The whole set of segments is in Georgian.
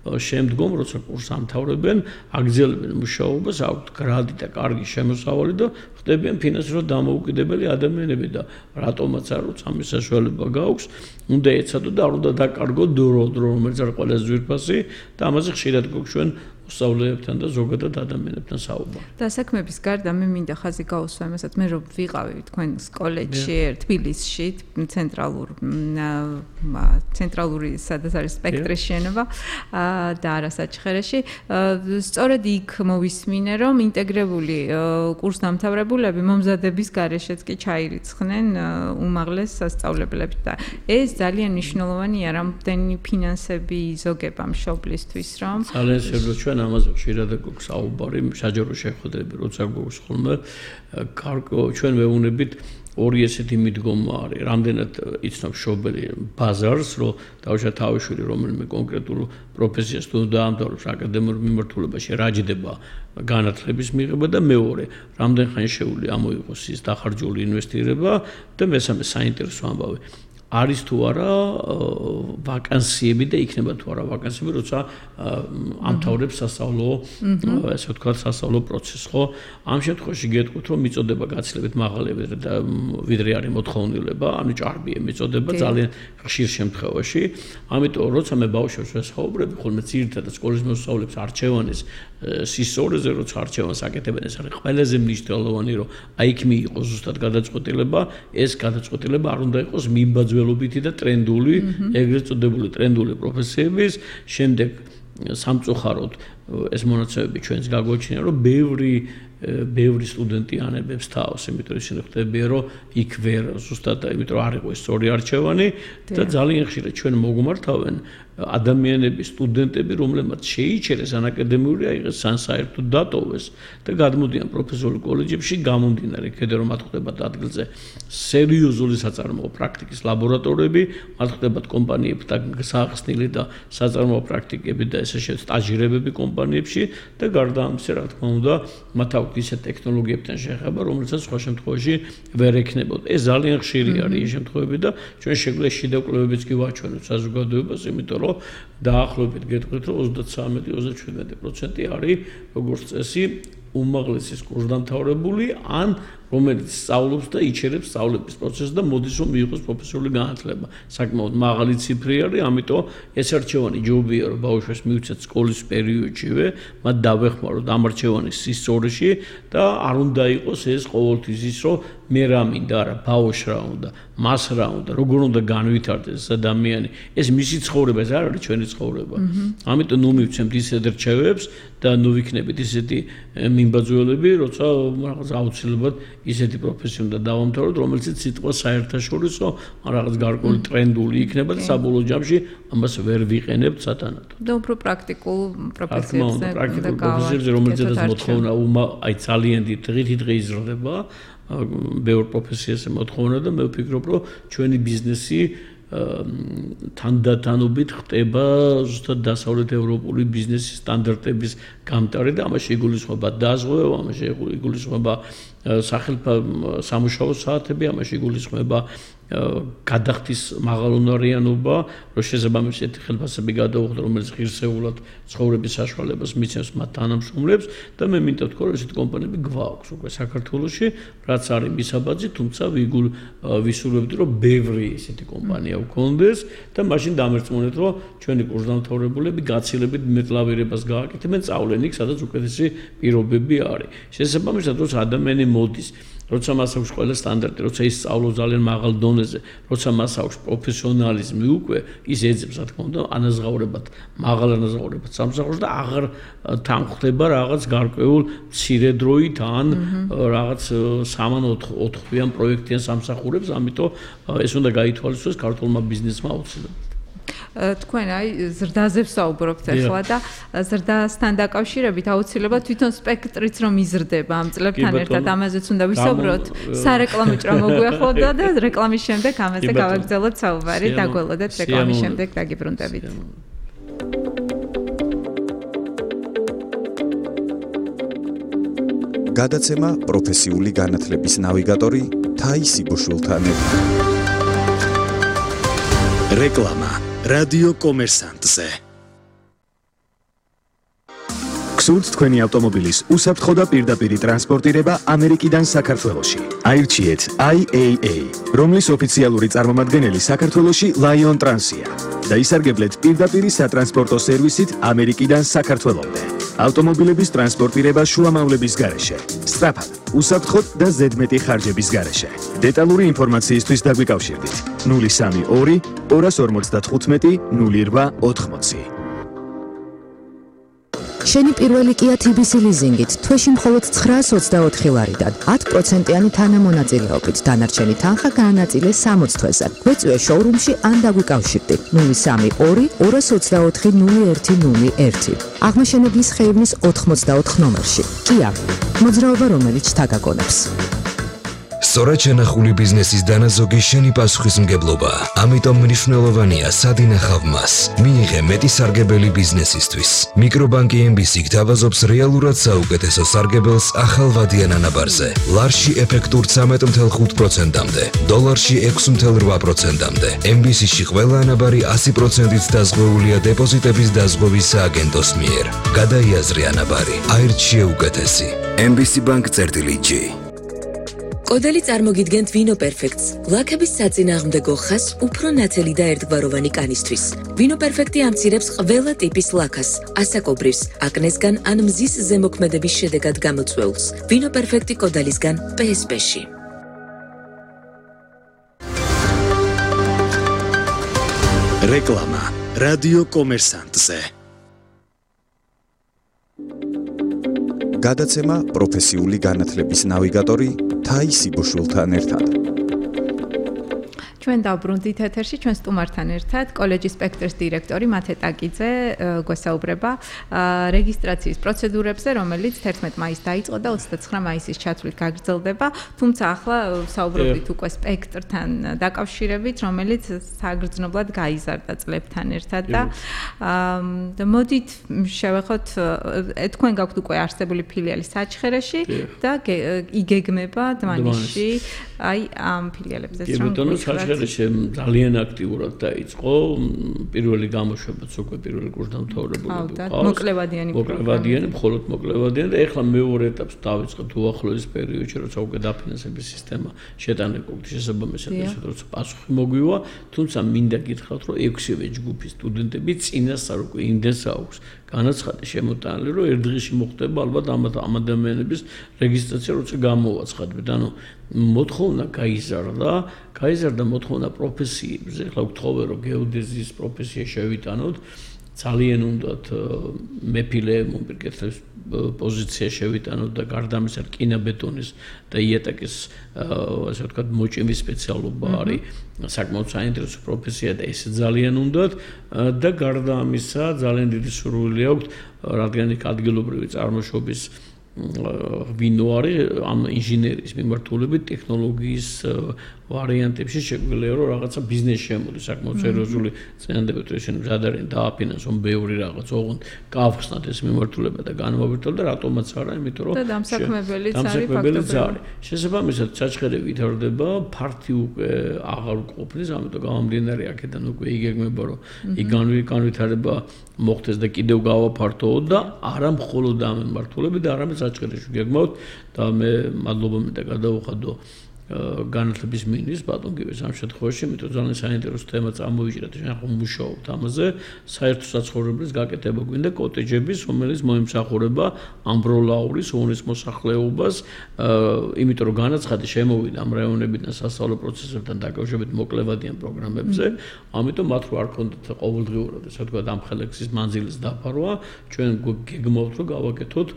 შემდგომ როცა კურსს ამთავრებენ, აგრძელებენ მუშაობას, აქვთ გრადი და კარგი შემოსავალი და ხდებიან ფინანსურად დამოუკიდებელი ადამიანები და რატომაც არ როცა ამის საშუალება გააქვს, უნდა ეცადო და არ უნდა დაკარგო დრო, რომელიც არის ყველაზე ძვირფასი და ამაზე ხშირად გვაქვს ჩვენ მოსწავლეებთან და ზოგადად ადამიანებთან საუბარი. და საქმეების გარდა მე მინდა ხაზი გაუსვა იმასაც, მე რომ ვიყავი თქვენ კოლეჯში, თბილისში, ცენტრალური სადაც არის სპექტრის შენობა და არასაჩხერეში. სწორედ იქ მოვისმინე, რომ ინტეგრებული კურსდამთავრებულები მომზადების გარეშეც კი ჩაირიცხნენ უმაღლეს სასწავლებლებს და ეს ძალიან მნიშვნელოვანია, რამდენი ფინანსები იზოგება მშობლისთვის, რომ ძალიან შეიძლება ჩვენ ამაზე ხშირად გვაქვს საუბარი, საჯარო შეხვედრები, როცა გვაქვს ხოლმე, ჩვენ ვეუბნებით ორი ესეთი მიდგომა არის, რამდენად იცნობ მშობელი ბაზარს, რომ დავუშვათ თავიშვილი რომელიმე კონკრეტულ პროფესიას თუ დაამთავრებს აკადემიურ მიმართულებაში, რა ჯდება განათლების მიღება და მეორე, რამდენ ხანი შეუძლია ამოიღოს ის დახარჯული ინვესტირება და მესამე საინტერესო ამბავი. არის თუ არა ვაკანსიები და იქნება თუ არა ვაკანსიები, როცა ამთავრებს სასწავლო, ესე ვთქვათ, სასწავლო პროცესს, ხო? ამ შემთხვევაში გეტყვით, რომ მიწოდება გაცილებით მაღალია ვიდრე არის მოთხოვნილება, ანუ ჭარბია მიწოდება ძალიან ხშირ შემთხვევაში. ამიტომ როცა მე ბავშვებს ვესაუბრები, ხოლმე ძირითადად სკოლის მოსწავლეებს არჩევანის სისწორეზე, როცა არჩევანს აკეთებენ, ეს არის ყველაზე მნიშვნელოვანი, რომ აი იქ მიიღოს ზუსტად გადაწყვეტილება, ეს გადაწყვეტილება არ უნდა იყოს მიმბაძველობითი და ტრენდული, ეგრეთ წოდებული ტრენდული პროფესიების, შემდეგ სამწუხაროდ ეს მონაცემები ჩვენს გაგვაჩნია, რომ ბევრი სტუდენტი ანებებს თავს, იმიტომ ისინი ხდებიან, რომ იქ ვერ ზუსტად, იმიტომ არ იყო ეს სწორი არჩევანი და ძალიან ხშირად ჩვენ მოგმართავენ ადამიანები, სტუდენტები, რომლებმაც შეიჩერეს ან აკადემიური აიღეს, ან საერთოდ დატოვეს და გადმოდიან პროფესიულ კოლეჯებში, გამომდინარე იქედან რომ მათ ხდებათ ადგილზე სერიოზული საწარმოო პრაქტიკის ლაბორატორიები, მათ ხდებათ კომპანიებთან საახსნილი და საწარმოო პრაქტიკები და ესე შეც სტაჟირებები კომპანიებში და გარდა ამისა, რა თქმა უნდა, მათ აქვთ ისეთ ტექნოლოგიებთან შეხება, რომელსაც სხვა შემთხვევაში ვერ ექნებოდა. ეს ძალიან ხშირი არის ეს შემთხვევები და ჩვენ შეგვიძლია შიდა კვლევებიც კი ვაჩვენოთ საზოგადოებას, იმიტომ რომ დაახლოებით გეტყვით, რომ 33-37% არის როგორც წესი უმაღლესი კურსდამთავრებული ან რომელიც სწავლობს და იჩერებს სწავლების პროცესს და მოდის რომ მიიღოს პროფესიული განათლება. საკმაოდ მაღალი ციფრი არის, ამიტომ ეს არჩევანი ჯობია რომ ბავშვებს მივცეთ სკოლის პერიოდშივე, მათ დავეხმაროთ ამ არჩევანის სისწორეში და არ უნდა იყოს ეს ყოველთვის ის რომ მე რა მინდა, არა ბავშვს რა უნდა, მას რა უნდა, როგორ უნდა განვითარდეს ეს ადამიანი. ეს მისი ცხოვრება, ეს არ არის ჩვენი ცხოვრება. ამიტომ ნუ მივცემთ ისეთ რჩევებს და ნუ ვიქნებით ისეთი მიმბაძველები, როცა რაღაც აუცილებლად ისეთი პროფესია უნდა დავამთავროთ, რომელიც სიტყვა საერთაშორისო, რაღაც გარკვეული ტრენდული იქნება და საბოლოო ჯამში ამას ვერ ვიყენებთ სათანადოდ. და უფრო პრაქტიკულ პროფესიებზე და პროფესიებზე, რომელზედაც მოთხოვნა აი ძალიან დღითიდღე იზრდება, ბევრ პროფესიაზე მოთხოვნა და მე ვფიქრობ, რომ ჩვენი ბიზნესი თანდათანობით ხდება ზუსტად დასავლეთ ევროპული ბიზნესის სტანდარტების გამტარი და ამაში იგულისხმება დაზღვევა, ამაში იგულისხმება სამუშაო საათები, ამაში იგულისხმება გადახდის მაღალუნარიანობა, რომ შესაბამისად ხელფასები გადაუხდა, რომელიც ღირსეულად ცხოვრების საშუალებას მიცემს მათ თანამშრომლებს და მე მინდა ვთქვა, რომ ესეთი კომპანიები გვაქვს უკვე საქართველოში, რაც არის მისაბაძი, თუმცა ვისურვებდი, რომ ბევრი ესეთი კომპანია ვქონდეს და მაშინ დამერწმუნეთ, რომ ჩვენი კურსდამთავრებულები გაცილებით მეტლავირებას გააკეთებენ, სწავლენ იქ, სადაც უკეთესი პირობები არის. შესაბამისად, როცა ადამიანი მოდის, როცა მას აქვს ყველა სტანდარტი, როცა ის სწავლობს ძალიან მაღალ დონეზე, როცა მას აქვს პროფესიონალიზმი უკვე, ის ეძებს, რა თქმა უნდა, ანაზღაურებად, მაღალ ანაზღაურებად სამსახურს და აღარ თანხდება რაღაც გარკვეულ მცირედროით ან რაღაც 3-4 თვიან პროექტიან სამსახურებს, ამიტომ ეს უნდა გაითვალისწინოს ქართულმა ბიზნესმა აუცილებლად. თქვენ აი ზრდაზე ვსაუბრობთ ახლა და ზრდასთან დაკავშირებით აუცილებლად თვითონ სპექტრიც რომ იზრდება ამ წლებთან ერთად ამაზეც უნდა ვისაუბროთ. სარეკლამო ჭრა მოგვიახლოვდა და რეკლამის შემდეგ ამაზე გავაგრძელოთ საუბარი. დაგველოდეთ რეკლამის შემდეგ დაგიბრუნდებით. გადაცემა პროფესიული განათლების ნავიგატორი თაისი ბუშულთან. რეკლამა რადიო კომერსანტზე. გსურთ თქვენი ავტომობილის უსაფრთხო და პირდაპირი ტრანსპორტირება ამერიკიდან საქართველოში. აირჩიეთ IAA, რომლის ოფიციალური წარმომადგენელი საქართველოში Lion Trans-ია და ისარგებლეთ პირდაპირი სატრანსპორტო სერვისით ამერიკიდან საქართველომდე. ავტომობილების ტრანსპორტირება შუამავლების გარეშე, სწრაფად, უსაფრთხოდ და ზედმეტი ხარჯების გარეშე. დეტალური ინფორმაციისთვის დაგვიკავშირდით 032 255 0880. შენი პირველი Kia TBC ლიზინგით თვეში მხოლოდ 924 ლარიდან 10%-იანი თანამონაწილეობით დანარჩენი თანხა გაანაწილე 60 თვეზე. გვეწვიე შოურუმში ან დაგვიკავშირდი 032 224 0101. აღმაშენებლის ხეივნის 84 ნომერში. Kia, მოძრაობა რომელიც თაგაგონებს. სწორად შენახული ბიზნესის დანაზოგი შენი პასუხისმგებლობა. ამიტომ მნიშვნელოვანია სად ინახავ მას. მიიღე მეტი სარგებელი ბიზნესისთვის. მიკრობანკი MBC გთავაზობს რეალურად საუკეთესო სარგებელს ახალ ვადიან ანაბარზე. ლარში ეფექტურ 13.5%-მდე, დოლარში 6.8%-მდე. MBC-ში ყველა ანაბარი 100%-ით დაზღვეულია დეპოზიტების დაზღვევის სააგენტოს მიერ. გადაიაზრე ანაბარი. აირჩიე უკეთესი. MBC Bank-G. კოდელი წარმოგიდგენთ ვინო პერფექტს, ლაქების საწინააღმდეგო ხას უფრო ნათელი და ერთგვაროვანი კანისთვის. ვინო პერფექტი ამცირებს ყველა ტიპის ლაქას, ასაკობრივს, აკნესგან ან მზის ზემოქმედების შედეგად გამოწვეულს. ვინო პერფექტი კოდელისგან PSP-ში. რეკლამა რადიო კომერსანტზე. გადაცემა პროფესიული განათლების ნავიგატორი თაისი ბუშულთან ერთად. ჩვენ დავბრუნდით ეთერში ჩვენ სტუმართან ერთად კოლეჯის სპექტრის დირექტორი მათე ტაკიძე გვესაუბრება რეგისტრაციის პროცედურებზე, რომელიც 11 მაისს დაიწყო და 29 მაისის ჩათვლით გაგრძელდება, თუმცა ახლა საუბრობთ უკვე სპექტრთან დაკავშირებით, რომელიც საგრძნობლად გაიზარდა წლებთან ერთად და მოდით შევეხოთ თქვენ გაქვთ უკვე არსებული ფილიალი საჩხერეში და იგეგმება დმანისში აი ამ ფილიალებზე ძალიან აქტიურად დაიწყო პირველი გამოშვებაც უკვე პირველი კურსდამთავრებული ყავს. მოკლევადიანი, მხოლოდ მოკლევადიანი და ეხლა მეორე ეტაპს დავიწყებთ უახლოეს პერიოდში, როცა უკვე დაფინანსების სისტემა შეტანა კუთხის შესაბამისად, როცა პასუხი მოგვივა, თუმცა მინდა გითხრათ, რომ 6-ვე ჯგუფის სტუდენტები წინასწარ უკვე იმდენს აქვს განაცხადი შემოტანილი, რომ ერთ დღეში მოხდება ალბათ ამ ადამიანების რეგისტრაცია, როცა გამოვაცხადებთ. ანუ მოთხოვნა გაიზარდა მოთხოვნა პროფესიებზე. ახლა ვთხოვე, რომ გეოდეზიის პროფესია შევიტანოთ, ძალიან უნდათ მეფილე მომპირკეთების პოზიცია შევიტანოთ და გარდა ამისა რკინაბეტონის და იატაკის ასე ვთქვათ მოჭიმის სპეციალობა არის საკმაოდ საინტერესო პროფესია და ეს ძალიან უნდათ და გარდა ამისა ძალიან დიდი სურვილი აქვს, რადგან იქ ადგილობრივი წარმოშობის ვინო არის ამ ინჟინერიის მიმართულებით ტექნოლოგიის ვარიანტებში შეგვიძლია რომ რაღაცა ბიზნესი შემოდის საკმაოდ სერიოზული წინადადებით ისინი მზადარიან დააფინანსონ ბევრი რაღაც ოღონდ გავხსნათ ეს მიმართულება და განმოვირთოთ და რატომაც არა იმიტომ რომ და დამსაქმებელიც არის ფაქტობრივად შესაბამისად საჩხერე ვითარდება ფართი უკვე აღარ ყოფნის ამიტომ გამომდინარე აქედან უკვე იგეგმება რომ იქ განვითარება მოხდეს და კიდევ გავაფართოო და არა მხოლოდ ამ მიმართულებით და არამედ საჩხერეში გეგმავთ და მე მადლობა მინდა გადავუხადო განათლების მინისტრს ბატონ გივეს ამ შემთხვევაში, იმიტომ ძალიან საინტერესო თემა წამოიჭრა და ჩვენ ვმუშაობთ ამაზე, საერთო საცხოვრებელის გაკეთება გვინდა კოტეჯების, რომელიც მოემსახურება ამბროლაურის ოვნის მოსახლეობას, იმიტომ რომ განაცხადი შემოვიდა ამ რაიონებიდან სასწავლო პროცესებთან დაკავშირებით მოკლევადიან პროგრამებზე, ამიტომ მათ რო არ ქონდათ ყოველდღიურად, ესე ვთქვათ, ამ ხელექსის მანძილის დაფარვა, ჩვენ გეგმავთ რომ გავაკეთოთ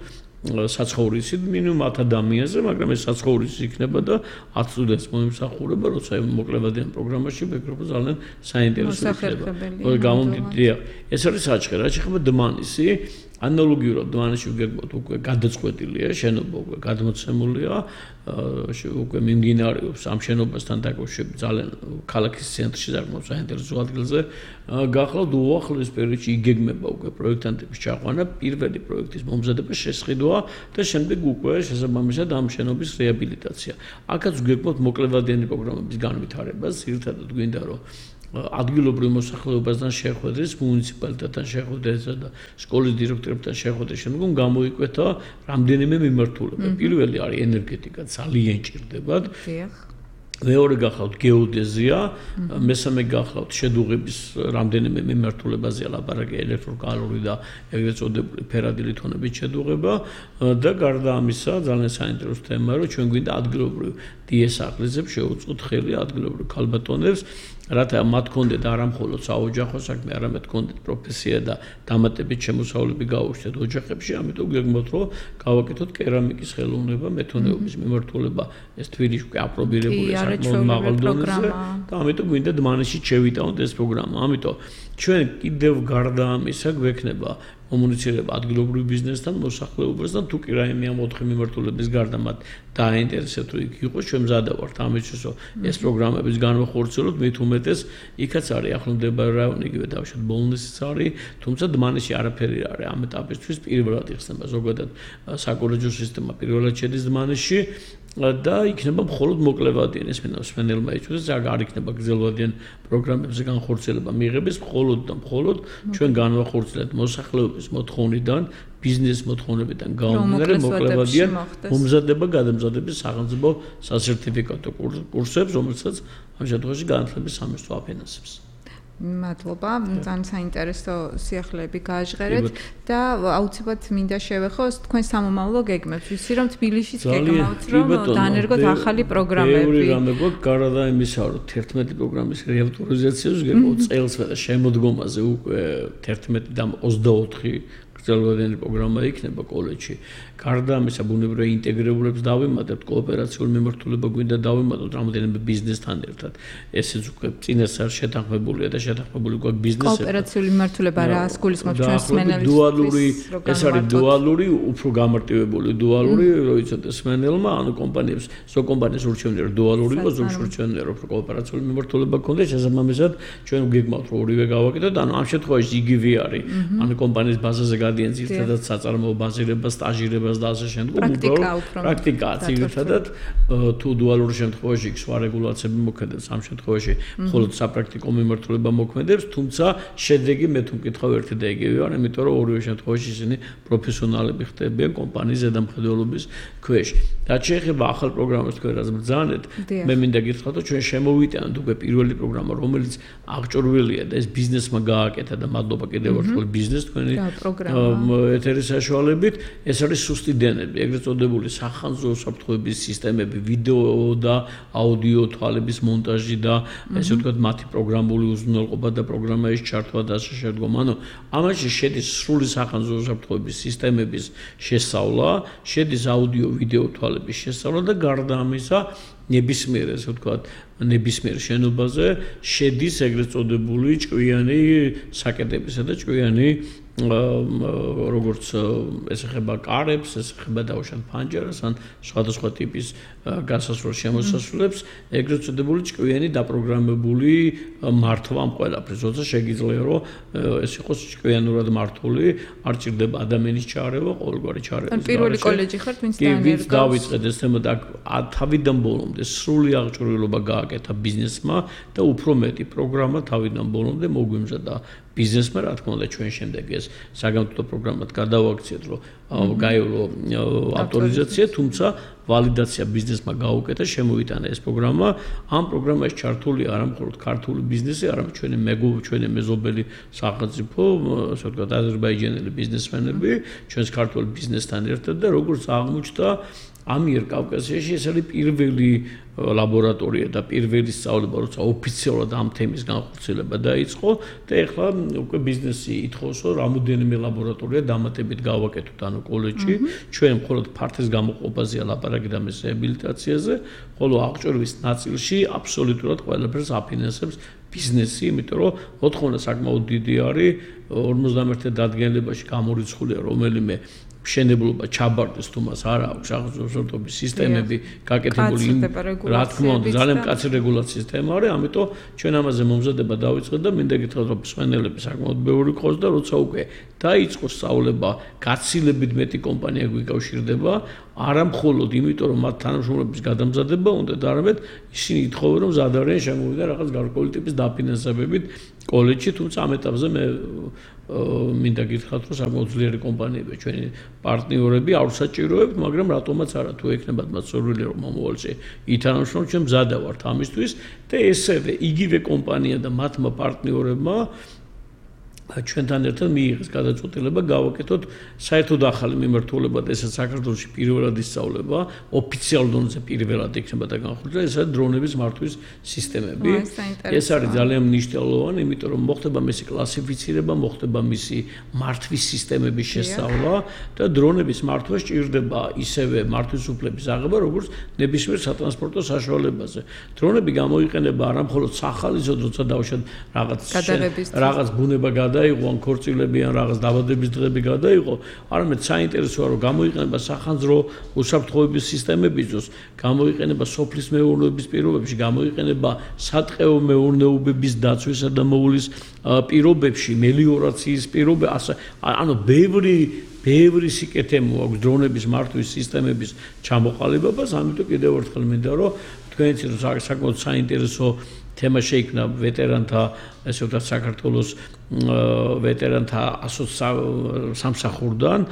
საცხოვრისი მინიმუმ 10 ადამიანზე, მაგრამ ეს საცხოვრისი იქნება და 10 სტუდენტს მოემსახურება, როცა მოკლევადიან პროგრამაში ვეკრიბო ძალიან საინტერესო იქნება. გამომდიდია. ეს არის საჩხერე, რაც ეხება დმანისი. ანალოგიურად დმანისში ვგეგმოთ უკვე გადაწყვეტილია, შენობა უკვე გადმოცემულია, უკვე მიმდინარეობს ამ შენობასთან დაკავშირებით ძალიან ქალაქის ცენტრში საკმაოდ საინტერესო ადგილზე. გახლავთ უახლოეს პერიოდში იგეგმება უკვე პროექტანტების ჩაყვანა, პირველი პროექტის მომზადება, შესყიდვა და შემდეგ უკვე შესაბამისად ამ შენობის რეაბილიტაცია. აქაც ვგეგმოთ მოკლევადიანი პროგრამების განვითარებას, ერთადად გვინდა რომ ადგილობრივ მოსახლეობასთან შეხვედრის, მუნიციპალიტეტთან შეხვედრისა და სკოლის დირექტორებთან შეხვედრის შემდგომ გამოიკვეთა რამდენიმე მიმართულება. პირველი არის ენერგეტიკა, ძალიან ჭირდებათ. მეორე გახლავთ გეოდეზია, მესამე გახლავთ შედუღების რამდენიმე მიმართულებაზე ლაპარაკი ელექტროკალორი და ეგრეთ წოდებული ფერადი ლითონების შედუღება და გარდა ამისა ძალიან საინტერესო თემაა, რომ ჩვენ გვინდა ადგილობრივ დიესახლისებს შევუწყოთ ხელი ადგილობრივ ქალბატონებს, რათა მათ კონდეთ არა მხოლოდ საოჯახო საქმე, არამედ კონდეთ პროფესია და დამატებით შემოსავლები გაუჩნდეთ ოჯახებში, ამიტომ გეგმავთ, რომ გავაკეთოთ კერამიკის ხელოვნება, მეთონეობის მიმართულება, ეს თბილისში აპრობირებულია საკმაოდ მაღალ დონეზე და ამიტომ გვინდა დმანისში შევიტანოთ ეს პროგრამა. ამიტომ ჩვენ კიდევ გარდა ამისა გვექნება კომუნიცირება ადგილობრივ ბიზნესთან, მოსახლეობასთან, თუ კი რაიმე ამ 4 მიმართულების გარდა მათ დააინტერესებთ, რომ იქ იყოს, ჩვენ მზადა ვართ ამისთვის, რომ ეს პროგრამების განვახორციელოთ, მით უმეტეს იქაც არის ახლომდებარე რაიონი, იგივე დავშოთ ბოლნისიც არის, თუმცა დმანისში არაფერი არ არის ამ ეტაპისთვის, პირველად იხსნება ზოგადად საკოლეჯო სისტემა პირველად შედის დმანისში და იქნება მხოლოდ მოკლევადიან ეს მსმენელმა იწვევს, არ იქნება გრძელვადიან პროგრამებზე განხორციელება მიიღების, მხოლოდ და მხოლოდ ჩვენ განვახორციელებთ მოსახლეობის მოთხოვნიდან, ბიზნეს მოთხოვნებიდან გამომდინარე მოკლევადიან მომზადება გადამზადების სახელმწიფო სასერტიფიკატო კურსებს, რომელსაც ამ შემთხვევაში განათლების სამინისტრო აფინანსებს. მადლობა, ძალიან საინტერესო სიახლეები გააჟღერეთ და აუცილებლად მინდა შევეხოს თქვენ სამომავლო გეგმებს. ვიცი რომ თბილისშიც გეგმავთ რომ დაანერგოთ ახალი პროგრამები. ბევრი რამე გვაქვს გარდა იმისა, რომ 11 პროგრამის რეავტორიზაციას გეგმავთ წელსვე და შემოდგომაზე უკვე 11 და 24 გრძელვადიანი პროგრამა იქნება კოლეჯში. გარდა ამისა, ბუნებრივი ინტეგრირებულებს დავიმატებთ, კოოპერაციული მიმართულება გვინდა დავიმატოთ რამდენიმე ბიზნესთან ერთად. ესეც უკვე წინასწარ შეთანხმებულია და შეთანხმებული გვაქვს ბიზნესებთან. კოოპერაციული მიმართულება რას გულისხმობთ ჩვენ სმენელისთვის? დუალური, ეს არის დუალური, უფრო გამარტივებული დუალური, რომ იცოდე სმენელმა, ანუ კომპანიებს, ზოგ კომპანიას ურჩევნია რომ დუალური იყოს, ზოგ ურჩევნია რომ კოოპერაციული მიმართულება გქონდეს, შესაბამისად ჩვენ გვგეგმავთ რომ ორივე გავაკეთოთ, ანუ ამ შემთხვევაში იგივე არის. ანუ კომპანიის ბაზაზე გადიან ძირითადად საწარმოო ბაზირება, სტაჟირება და ასე შემდგომ პრაქტიკაა ძირითადად თუ დუალურ შემთხვევაში სხვა რეგულაციები მოქმედებს ამ შემთხვევაში მხოლოდ საპრაქტიკო მიმართულება მოქმედებს თუმცა შედეგი მე თუ მკითხავ ერთი და იგივე არ იმიტომ რომ ორივე შემთხვევაში ისინი პროფესიონალები ხდებიან კომპანიის ზედამხედველობის ქვეშ და შეიძლება ახალ პროგრამას თქვენ რაც ბრძანეთ მე მინდა გითხრათ რომ ჩვენ შემოვიტანოთ უკვე პირველი პროგრამა რომელიც აღჭურვილია და ეს ბიზნესმა გააკეთა და მადლობა კიდევ ერთხელ ბიზნეს თქვენი ეთერის საშუალებით ეს არის სუსტი დენები, ეგრეთ წოდებული სახანძრო უსაფრთხოების სისტემები, ვიდეო და აუდიო თვალების მონტაჟი და ესე ვთქვათ, მათი პროგრამული უზრუნველყოფა და პროგრამაში ჩართვა და ასე შემდგომ. ანუ ამაში შედის სრული სახანძრო უსაფრთხოების სისტემების შესწავლა, შედის აუდიო ვიდეო თვალების შესწავლა და გარდა ამისა ნებისმიერ ესე ვთქვათ, ნებისმიერ შენობაზე შედის ეგრეთ წოდებული ჭკვიანი საკეტებისა და ჭკვიანი როგორც ესახება კარებს, ესახება დაუშვათ ფანჯარას ან სხვადასხვა ტიპის გასასვლელ შემოსასვლელებს, ეგრეთ წოდებული ჭკვიანი დაპროგრამებული მართვა ამ ყველაფერს, როცა შეგიძლია რომ ეს იყოს ჭკვიანურად მართული, არ ჭირდება ადამიანის ჩარევა, ყოველგვარი ჩარევა. ან პირველი კოლეჯი ხართ, ვინც დაანერგავს. დავიწყეთ ეს თემა და თავიდან ბოლომდე სრული აღჭურვილობა გააკეთა ბიზნესმა და უფრო მეტი პროგრამა თავიდან ბოლომდე მოგვიმზადა ბიზნესმა, რა თქმა უნდა, ჩვენ შემდეგ ეს საგამოწმო პროგრამად გადავაქციეთ, რომ გაივლო ავტორიზაცია, თუმცა ვალიდაცია ბიზნესმა გაუკეთა, შემოვიტანა ეს პროგრამა. ამ პროგრამაში ჩართული არა მხოლოდ ქართული ბიზნესი, არამედ ჩვენი მეზობელი სახელმწიფო, ასე ვთქვათ, აზერბაიჯანელი ბიზნესმენები, ჩვენს ქართულ ბიზნესთან ერთად და როგორც აღმოჩნდა ამიერკავკასიაში ეს არის პირველი ლაბორატორია და პირველი სწავლება, როცა ოფიციალურად ამ თემის განხორციელება დაიწყო და ეხლა უკვე ბიზნესი ითხოვს, რომ რამოდენიმე ლაბორატორია დამატებით გავაკეთოთ ანუ კოლეჯში. ჩვენ მხოლოდ ფართის გამოყოფაზეა ლაპარაკი და მის რეაბილიტაციაზე, ხოლო აღჭურვის ნაწილში აბსოლუტურად ყველაფერს აფინანსებს ბიზნესი, იმიტომ რომ მოთხოვნა საკმაოდ დიდი არის 51 დადგენილებაში გამორიცხულია რომელიმე მშენებლობა ჩაბარდეს თუ მას არ აქვს აღზრდობის სისტემები გაკეთებული რა თქმა უნდა ძალიან მკაცრი რეგულაციის სისტემა არის ამიტომ ჩვენ ამაზე მომზადება დავიწყეთ და მინდა გითხრათ რომ მსვენელები საკმაოდ ბევრი ყავს და როცა უკვე დაიწყოს სწავლება გაცილებით მეტი კომპანია გვიკავშირდება არა მხოლოდ იმიტომ რომ მათ თანამშრომლების გადამზადება უნდა და არამედ ისინი ითხოვენ რომ ზადარიან შემოვიდა რაღაც გარკვეული ტიპის დაფინანსებებით კოლეჯში თუმცა ამ ეტაპზე მე მინდა გითხრათ რომ საკმაოდ ძლიერი კომპანიებია ჩვენი პარტნიორები არ საჭიროებთ მაგრამ რატომაც არა თუ ექნებათ მათ სურვილი რომ მომავალში ითანამშრომლოთ ჩვენ მზადა ვართ ამისთვის და ესევე იგივე კომპანია და მათმა პარტნიორებმა ჩვენთან ერთად მიიღეს გადაწყვეტილება გავაკეთოთ საერთოდ ახალი მიმართულება და ესაც საქართველოში პირველად ისწავლება ოფიციალურ დონეზე პირველად იქნება და განხორციელება ესაა დრონების მართვის სისტემები ეს არის ძალიან მნიშვნელოვანი იმიტომ რომ მოხდება მისი კლასიფიცირება მოხდება მისი მართვის სისტემების შესწავლა და დრონების მართვა სჭირდება ისევე მართვის უფლების აღება როგორც ნებისმიერ სატრანსპორტო საშუალებაზე დრონები გამოიყენება არა მხოლოდ სახალისოდ როცა დავუშვათ რაღაც ბუნება გადაიღო ან ქორწილები ან რაღაც დაბადების დღეები გადაიღო, არამედ საინტერესოა რომ გამოიყენება სახანძრო უსაფრთხოების სისტემებისთვის, გამოიყენება სოფლის მეურნეობის პირობებში, გამოიყენება სატყეო მეურნეობების დაცვისა და მოულის პირობებში, მელიორაციის პირობებში, ანუ ბევრი სიკეთე მოაქვს დრონების მართვის სისტემების ჩამოყალიბებას, ამიტომ კიდევ ერთხელ მინდა რომ თქვენიც საკმაოდ საინტერესო თემა შეიქმნა ვეტერანთა ესე ვთქვათ საქართველოს ვეტერანთა სამსახურიდან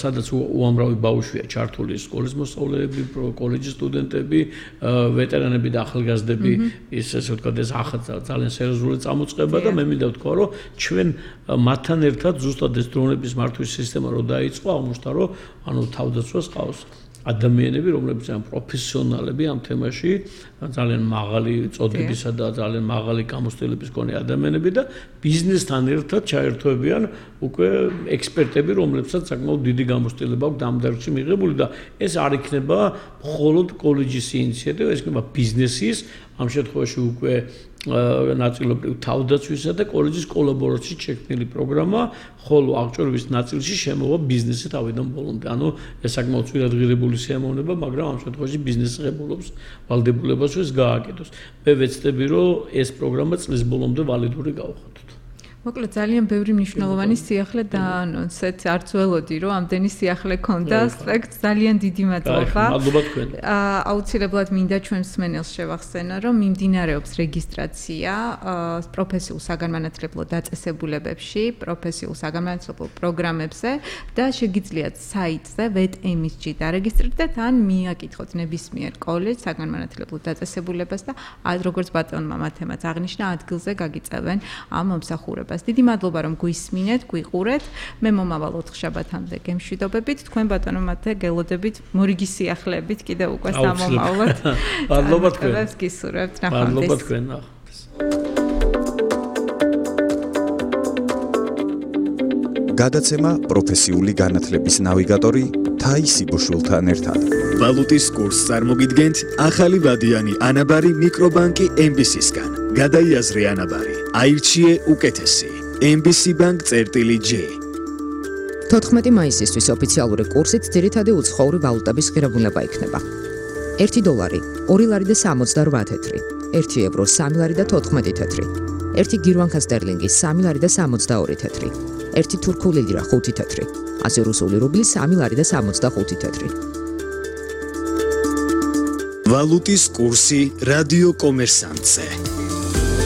სადაც უამრავი ბავშვია ჩართული სკოლის მოსწავლეები, კოლეჯის სტუდენტები, ვეტერანები და ახალგაზრდები ესე ვთქვათ ეს ძალიან სერიოზული წამოწყება და მე მინდა ვთქვა რომ ჩვენ მათთან ერთად ზუსტად ეს დრონების მართვის სისტემა რო დაიწყო აღმოჩნდა რომ ანუ თავდაცვას ყავს ადამიანები, რომლებიც ან პროფესიონალები ამ თემაში, ძალიან მაღალი წოდებისა და ძალიან მაღალი გამოცდილების მქონე ადამიანები და ბიზნესთან ერთად ჩაერთვებიან უკვე ექსპერტები, რომლებსაც საკმაოდ დიდი გამოცდილება აქვს ამ დარგში მიღებული და ეს არ იქნება მხოლოდ კოლეჯის ინიციატივა, ეს იქნება ბიზნესის, ამ შემთხვევაში უკვე ნაწილობრივ თავდაცვისა და კოლეჯის კოლაბორაციით შექმნილი პროგრამა, ხოლო აღჭურვის ნაწილში შემოვა ბიზნესი თავიდან ბოლომდე. ანუ ეს საკმაოდ ძვირადღირებული სიამოვნება, მაგრამ ამ შემთხვევაში ბიზნესი ღებულობს ვალდებულებას, რომ ეს გააკეთოს. მე ვეცდები, რომ ეს პროგრამა წლის ბოლომდე ვალიდური გავხადოთ. მოკლედ ძალიან ბევრი მნიშვნელოვანი სიახლე დაანონსეთ, არც ველოდი რომ ამდენი სიახლე ქონდა, სპექტ ძალიან დიდი მადლობა. მადლობა თქვენ. აუცილებლად მინდა ჩვენ მსმენელს შევახსენო, რომ მიმდინარეობს რეგისტრაცია პროფესიულ საგანმანათლებლო დაწესებულებებში, პროფესიულ საგანმანათლებლო პროგრამებზე და შეგიძლიათ საიტზე VET-MSG დარეგისტრირდეთ ან მიაკითხოთ ნებისმიერ კოლეჯს საგანმანათლებლო დაწესებულებას და როგორც ბატონმა მათემაც აღნიშნა, ადგილზე გაგიწევენ ამ მომსახურებას. დიდი მადლობა რომ გვისმინეთ, გვიყურეთ. მე მომავალ 4 შაბათამდე გემშვიდობებით. თქვენ ბატონო მათე გელოდებით მორიგი სიახლეებით კიდევ უკვე სამომავლოდ. მადლობა თქვენ. გისურვებთ ნახვამდის. მადლობა თქვენ ნახვამდის. გადაცემა პროფესიული განათლების ნავიგატორი თაისი ბუშულთან ერთად. ვალუტის კურსს წარმოგიდგენთ ახალი ვადიანი ანაბარი მიკრობანკი MBC-სგან. გადაიაზრე ანაბარი. აირჩიე უკეთესი. MBC Bank-J. 14 მაისისთვის ოფიციალური კურსით ძირითადი უცხოური ვალუტების ღირებულება იქნება. 1 დოლარი 2 ლარი და 78 თეთრი, 1 ევრო 3 ლარი და 14 თეთრი, 1 გირვანკა სტერლინგი 3 ლარი და 62 თეთრი, 1 თურქული ლირა 5 თეთრი, 100 რუსული რუბლი 3 ლარი და 65 თეთრი. ვალუტის კურსი რადიო კომერსანტზე.